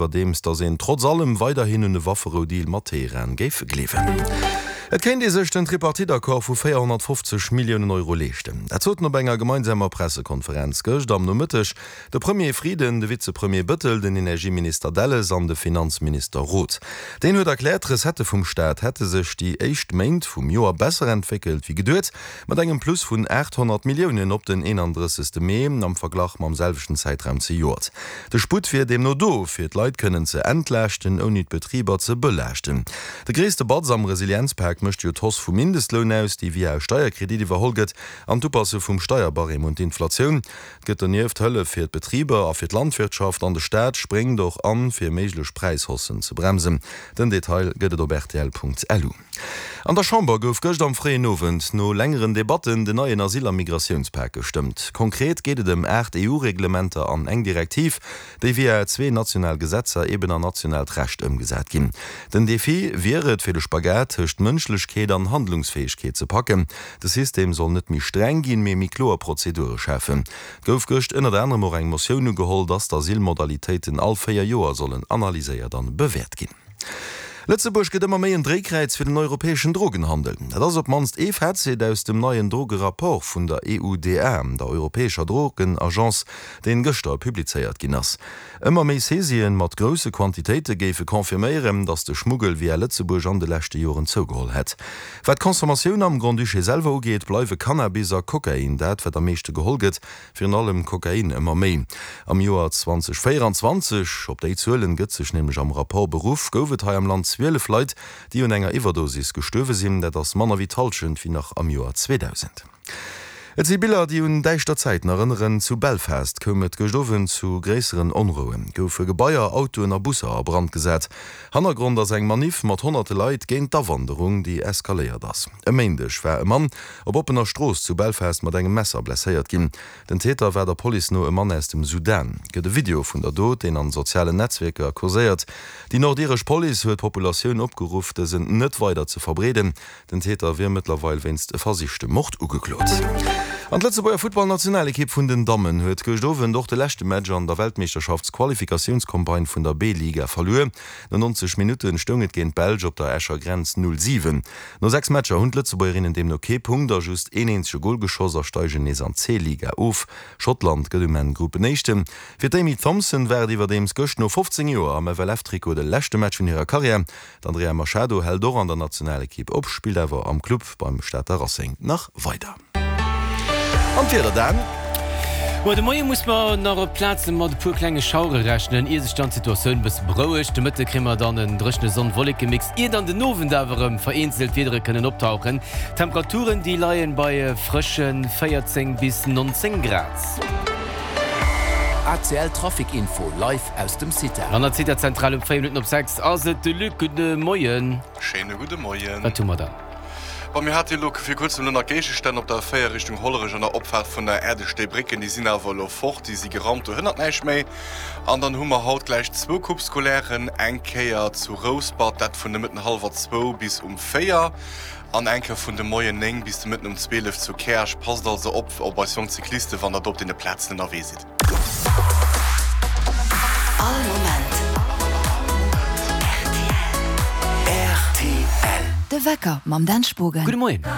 Iwwerdeems datt een trotz allem weiderhin un e Wafferou-Deal mat Teheran géif gleewen. Et kéint ee sech den Tripartite-Accord vu 450 Milliounen Euro leeschten. Dat soten op enger gemeinsamer Pressekonferenz gëscht am Nomëtteg de Premier Frieden, de Vizepremier Bëttel, den Energieminister Delles an de Finanzminister Roth. Deen huet erkläert, d'Recettë vum Staat hätte sech déi éischt Méint vum Joer besser entwéckelt wéi geduet. Mat engem Plus vun 800 Milliounen op den 31. Mee am Verglach mam selwechten Zäitraum zejoert. De Sputt wier deemno do, fir d'Leit kënnen ze entlaaschten, ouni d'Betriber ze belaaschten. De gréisste Batz am Resilienzpak mécht jo d'Hausse vum Mindestloun aus, déi via e Steierkredit iwwerholl gëtt, an d'Upasse vum Steierbarème un d'Inflatioun. Et gëtt donieft Hëllef fir d'Betriber a fir d'Landwirtschaft an de Staat spréngt och an, fir méiglech Präishaussen ze bremsen. Den Detail gëtt et op rtl.lu. An der Chamber gouf gëscht am fréien Owend no längeren Debatten den neien Asyl a Migratiounspak gestëmmt. Konkret geet et ëm 8 EU-Reglementer an eng Direktiv, déi via zwee national Gesetzer eben an nationaalt Recht ëmgesat ginn. Den Defi wier et, fir de Spagat tëscht Mënschlechkeet an Handlungsfäegkeet ze packen. De System soll net méi streng ginn, mee méi kloer Prozedure schafen. Et gouf gëscht ënnert anerem och eng Motioun ugeholl, dass d'Asylmodalitéiten all 4 Joer sollen analyséiert an bewäert ginn. Lëtzebuerg gëtt ëmmer méi en Dréikräiz fir den europäeschen Drogenhandel. Dat ass op d'mannst ee Fazit aus dem neien Drogerapport vun der EUDA, der europäescher Drogenagence, deen gëschter publizéiert ginn ass. Ëmmer méi Saisien mat grousse Quantitéite géife confirméieren, datt de Schmuggel via Lëtzebuerg an de leschte Joren zougeholl hätt. Wat d'Consommatioun am Grand-Duché selwer ugeet, bleiwe Cannabis a Kokain dat, wat am meeschte geholl gëtt. Virun allem Kokain ëmmer méi. Am Joer 2024, op déi Zuelen gëtt sech nämlech am Rapport beruff, gouf et hei am Land 12 Leit, déi un enger Iwwerdosis gestuerwe sinn. Dat ass manner wéi d'Hallschent wéi nach am Joer 2000. Et si Biller, déi un däischter Zäiten erënneren. Zu Belfast koum et gëscht Owend zu gréisseren Onrouen, goufe Gebaier, Autoen a Busser a Brand gesat. Hannergrond ass eng Maniff mat honnerte Leit géint d'Awanderung, déi eskaléiert ass. E Méindeg war e Mann op oppener Strooss zu Belfast mat engem Messer blesséiert ginn. Den Täter war der Police no e Mann aus dem Sudan. Gëtt e Video vun der Dot, deen an sozialen Netzwierker kurséiert. Déi nordiresch Police huet d'Populatioun opgeruff, dësen net weider ze verbreeden. Den Täter wier mëttlerweil wéinst versichtem Mord ugeklot. An d'Lëtzebuerger Futtballnationalekipp vun den Dammen huet gëscht Owend och de leschte Match an der Weltmeeschterschaftsqualifikatiounscampagne vun der B-Liga verluer. No 90 Minutten stoung et géint d'Belsch op der Escher Grenz 0, 7. No 6 Matcher hunn d'Lëtzebuergerinnen deemno kee Punkt a just een eenzege Gol geschoss a steigen nees an d'C-Liga of. Schottland gëtt um Enn Gruppenéischten. Fir d'Amy Thompson war et iwwerdeems gëscht no 15 Joer am FLF-Trikot de leschte Match vun hirer Karriär. D'Andrea Machado hält och an der Nationalekipp op, spillt awer am Club beim Stater Racing nach weider. An d'Wieder dann? Muer de Moie muss mer nach op Plaze mat e puer klenge Schauere rechnen, ier sech dann d'Situatioun e bësse berouegt. De Mëtte kréie mer dann en dréchene Sonn-Wolleke-Mix, ier dann den Owend awer erëm vereenzelt Wiedere kënnen optauchen. D'Temperaturen, déi leie bei frësche 14 bis 19 Grad. ACL Trafic Info live aus dem CITA. An der CITA-Zentral um 4 Minutten op 6 ass et de Luc. Gudde Moien. Schéine gudde Moien. Wat hu mer dann? Bon, mir hate elo vir kuerzem elo nach Géigestänn op der A4 Richtung Hollerech an der Opfaart vun der Äerdestéibrécken. Déi sinn awer elo fort, déi si geraumt, do hënnert näischt méi. An dann hu mer haut gläich zwou Coupe scolairen, eng Kéier zu Rouspert, dat vun de Mëtten hallwer zwou bis um 4 an eng Kéier vun de Moien 9 bis de Mëtten um 12 zu Käerch. Passt also op op eis jonk Cyclisten, wann der do op deene Plazen ënnerwee sidd. All Moment rtl. De Wecker mam Dan Spogen. Gudde Moien.